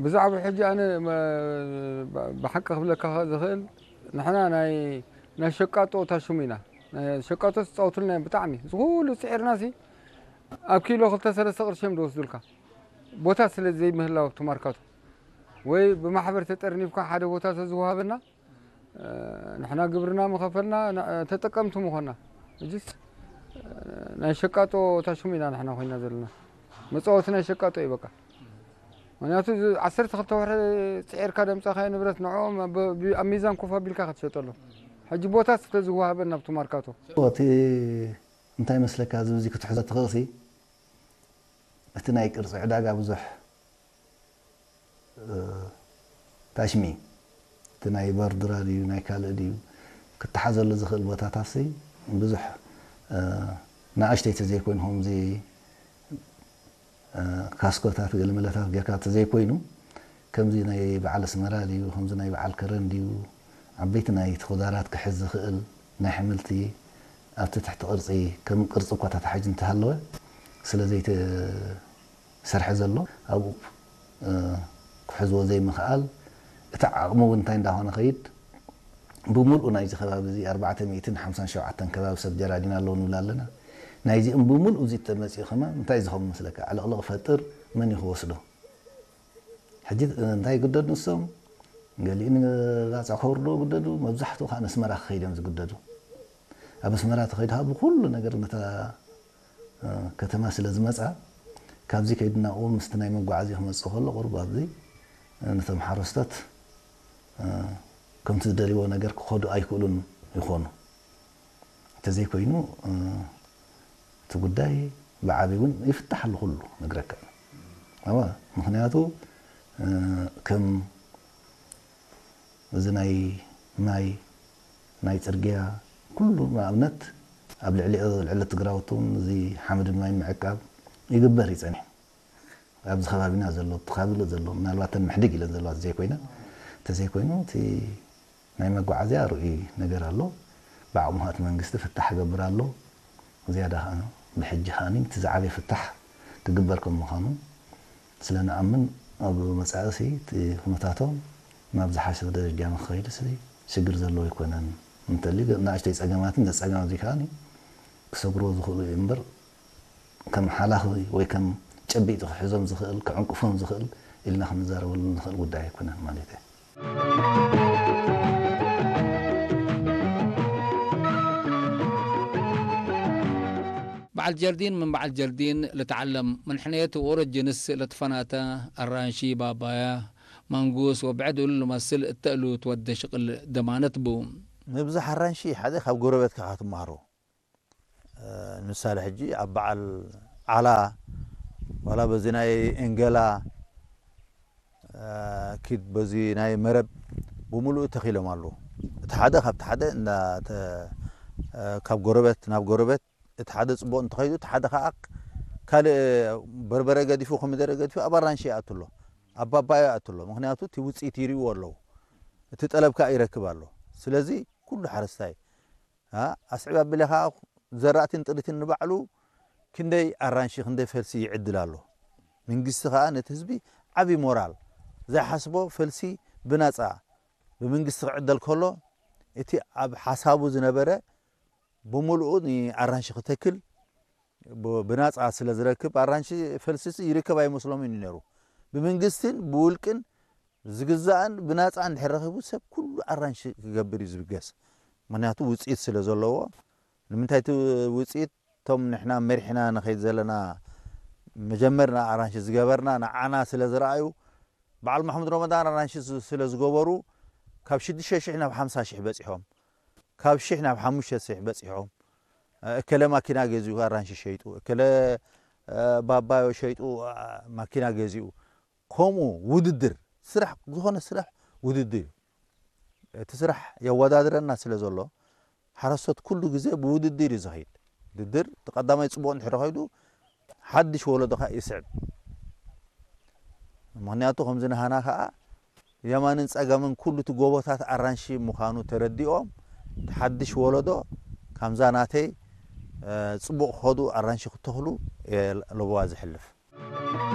ብዛዕባ ሕጂ ኣነ መ-፣ ብ-፣ ብሓቂ ክብለካ ዝኽእል ንሕና ናይ፣ ናይ ሸቃጦ ታሹም ኢና። ናይ ሸቃጦ ዝጻወቱልና እዮም ብጣዕሚ። ዝኹሉ ጽዒርናሲ ኣብ ኪሎ ክልተ ሰለስተ ቅርሺ እዮም ዝወስዱልካ። ቦታ ስለ ዘይምህላው ኣብቲ ማርካቶ ወይ ብማሕበር ተጠርኒፍካ ሓደ ቦታ ተዝወሃበና፣ እ፣ ንሕና ግብርና ምኸፈልና፣ ን-፣ ተጠቀምቲ ምኾና። ሕጅስ፣ እ፣ ናይ ሸቃጦ ታሹም ኢና ንሕና ኮይና ዘለና። መጻወቲ ናይ ሸቃጦ እዩ በቃ። ምኽንያቱ እዚ ዓሰርተ ክልተ ወርሒ ጽዒርካ ደምጻኻዮ ንብረት ንዕኦም ኣብ፣ ብ-፣ ኣብ ሚዛን ኮፍ ኣቢልካ ክትሸጠሎም። ሕጂ ቦታ ስለ ዝወሃበን ናብቲ ማርካቶ። እቲ እንታይ መስለካ፣ እዚ፣ እዚ ክትሕዞ ትኽእልሲ፣ እቲ ናይ ቅርጺ ዕዳጋ ብዙሕ፣ እ፣ ታሽሚ፣ እቲ ናይ በርድራ ድዩ፣ ናይ ካልእ ድዩ፣ ክተሓዘሉ ዝኽእል ቦታታትሲ ብዙሕ፣ እ፣ ንኣሽተይ ተዘይኮይኑ፣ ከምዚ፣ እ፣ ካስኮታት፣ ገለመለታት ጌርካ ተዘይኮይኑ፣ ከምዚ ናይ በዓል ኣስመራ ድዩ፣ ከምዚ ናይ በዓል ከረን ድዩ፣ ዓበይቲ ናይ ተኾዳራት ክሕዝ ዝኽእል ናይ ኣሕምልቲ ኣብቲ ትሕቲ ቅርጺ፣ ከም ቅርጺ እኳ ተታሒዙ እንተሃለወ፣ ስለ ዘይተሰርሐ ዘሎ፣ ኣብኡ፣ እ፣ ክሕዝዎ ዘይምኽኣል፣ እቲ ዓቕሚ እውን እንታይ እንዳኾነ ኸይድ፣ ብምሉኡ ናይዚ ከባቢ እዚ ኣርባዕተ ሚእትን ሓምሳን ሸውዓተን ከባቢ ሰብ ጀራዲን ኣለዉ ንብል ኣለና። ናይዚኦም ብምሉኡ እዚ ተመጺኡ ከማን እንታይ ዝኸውን መስለካ? ዕልቕልቕ ፈጥር፣ መን እዩ ክወስዶ? ሕጂ እንታይ ይግደዱ ንሶም? ገሊኡ ንባጽዕ ከውርዶ ይግደዱ፣ መብዛሕትኡ ከኣ ንኣስመራ ክኸይድ እዮም ዝግደዱ። ኣብ ኣስመራ ተኸይዱ ከኣ ብኹሉ ነገር ነታ፣ እ፣ ከተማ ስለ ዝመጻ፣ ካብዚ ከይዱ ናብኡ ምስቲ ናይ መጓዓዝያ ክመጽእ ከሎ ቁሩብ ኣብዚ፣ እ፣ ነቶም ሓረስቶት፣ እ፣ ከምቲ ዝደልይዎ ነገር ክኸዱ ኣይክእሉን ይኾኑ። እንተዘይኮይኑ፣ እ፣ እቲ ጉዳይ ብዓቢ እውን ይፍታሕ ኣሎ ኩሉ ነግረካ። ኣዋ፣ ምኽንያቱ፣ እ፣ ከም እዚ ናይ ማይ፣ ናይ ጽርግያ፣ ኩሉ ንኣብነት ኣብ ልዕሊ፣ ልዕሊ እቲ ግራውቲ እውን እዚ ሓመድን ማይን ምዕቃብ ይግበር እዩ ጸኒሑ። ኣብዚ ከባቢና ዘሎ፣ እቲ ከባቢ ዘሎ፣ ምናልባት ተን ምሕድግ ኢለን ዘለዋ ዘይኮይና፣ እንተዘይኮይኑ እቲ ናይ መጓዓዝያ ርኡይ ነገር ኣሎ። ብዓቕሙ ከኣ እቲ መንግስቲ ፍታሕ ይገብር ኣሎ። ዝያዳ ከኣ ብሕጂ ከኣ እቲ ዝዓበየ ፍታሕ ክግበር ከም ምዃኑ ስለ ንኣምን፣ ኣብ መጻኢ እቲ ኩነታቶም ናብ ዝሓሸ ደረጃ ንክኸይድ ሽግር ዘለዎ ኣይኮነን። እንተልዩ ንኣሽተይ ጸገማትን ዘጸገም ኣብዚ ከኣ ክሰግርዎ ዝኽእሉ እዩ እምበር፣ ከም ሓላኺ ወይ ከም ጨቢጥ ክሕዞም ዝኽእል፣ ክዕንቅፎም ዝኽእል ኢልና ክንዛረበሉ ንኽእል ጉዳይ ኣይኮነን ማለት እዩ። በዓል ጀርዲን ምን በዓል ጀርዲን ልትዓለም ምን ሕነየት ወረጅንስ ለትፈናተ ኣራንሺ ባባያ ማንጉስ ወብዕድ እሉ ልመስል እተእሉ ትወደ ሽቕል ደማነት ቡ። ምብዛሕ ኣራንሺ ሓደ ካብ ጎረቤትካ ክትመሃሮ። ንምሳሌ ሕጂ ኣብ በዓል ዓላ ዋላ በዚ ናይ እንገላ ኪድ በዚ ናይ መረብ ብምሉኡ ተኺሎም ኣለዉ። እቲ ሓደ ካብቲ ሓደ እንዳ ካብ ጎረበት ናብ ጎረበት እቲ ሓደ ጽቡቕ እንተኸይዱ እቲ ሓደ ከዓ ካልእ በርበረ ገዲፉ ኮሚደረ ገዲፉ ኣብ ኣራንሺ ይኣቱ ኣሎ፣ ኣብ ባባዮ ይኣቱ ኣሎ። ምኽንያቱ እቲ ውፅኢት ይርእዎ ኣለዉ፣ እቲ ጠለብ ከዓ ይረክብ ኣሎ። ስለዚ ኩሉ ሓረስታይ ኣስዕብ ኣቢለ ከዓ ዘራእትን ጥሪትን ንባዕሉ ክንደይ ኣራንሺ ክንደይ ፈልሲ ይዕድል ኣሎ። መንግስቲ ከዓ ነቲ ህዝቢ ዓብዪ ሞራል ዘይሓስቦ ፈልሲ ብናፃ ብመንግስቲ ክዕደል ከሎ እቲ ኣብ ሓሳቡ ዝነበረ ብምልኡ ንኣራንሺ ክተክል ብናፃ ስለ ዝረክብ ኣራንሺ ፈልሲ ይርከብ ኣይመስሎምን እዩ ነይሩ። ብመንግስትን ብውልቅን ዝግዛእን ብናፃ እንድሕር ረኺቡ ሰብ ኩሉ ኣራንሺ ክገብር እዩ ዝብገስ። ምክንያቱ ውፅኢት ስለ ዘለዎ። ንምንታይ እቲ ውፅኢት እቶም ንሕና መሪሕና ንኸይድ ዘለና መጀመርና ኣራንሺ ዝገበርና ንዓና ስለ ዝረኣዩ በዓል ማሕሙድ ረመዳን ኣራንሺ ስለ ዝገበሩ ካብ ሽዱሽተ ሽሕ ናብ ሓምሳ ሽሕ በፂሖም፣ ካብ ሽሕ ናብ ሓሙሽተ ሽሕ በፂሖም። እከለ ማኪና ገዚኡ ኣራንሺ ሸይጡ፣ እከለ ባባዮ ሸይጡ ማኪና ገዚኡ። ከምኡ ውድድር ስራሕ፣ ዝኾነ ስራሕ ውድድር እዩ። እቲ ስራሕ የወዳድረና ስለ ዘሎ ሓረስቶት ኩሉ ግዜ ብውድድር እዩ ዝኸይድ። ውድድር እቲ ቀዳማይ ፅቡቕ እንድሕር ከይዱ ሓድሽ ወለዶ ከዓ ይስዕብ። ምክንያቱ ከምዚ ንሃና ከዓ የማንን ፀጋምን ኩሉ እቲ ጎቦታት ኣራንሺ ምዃኑ ተረዲኦም እቲ ሓድሽ ወለዶ ከምዛ ናተይ ፅቡቕ ክኸዱ ኣራንሺ ክተኽሉ እየ ለበዋ ዝሕልፍ።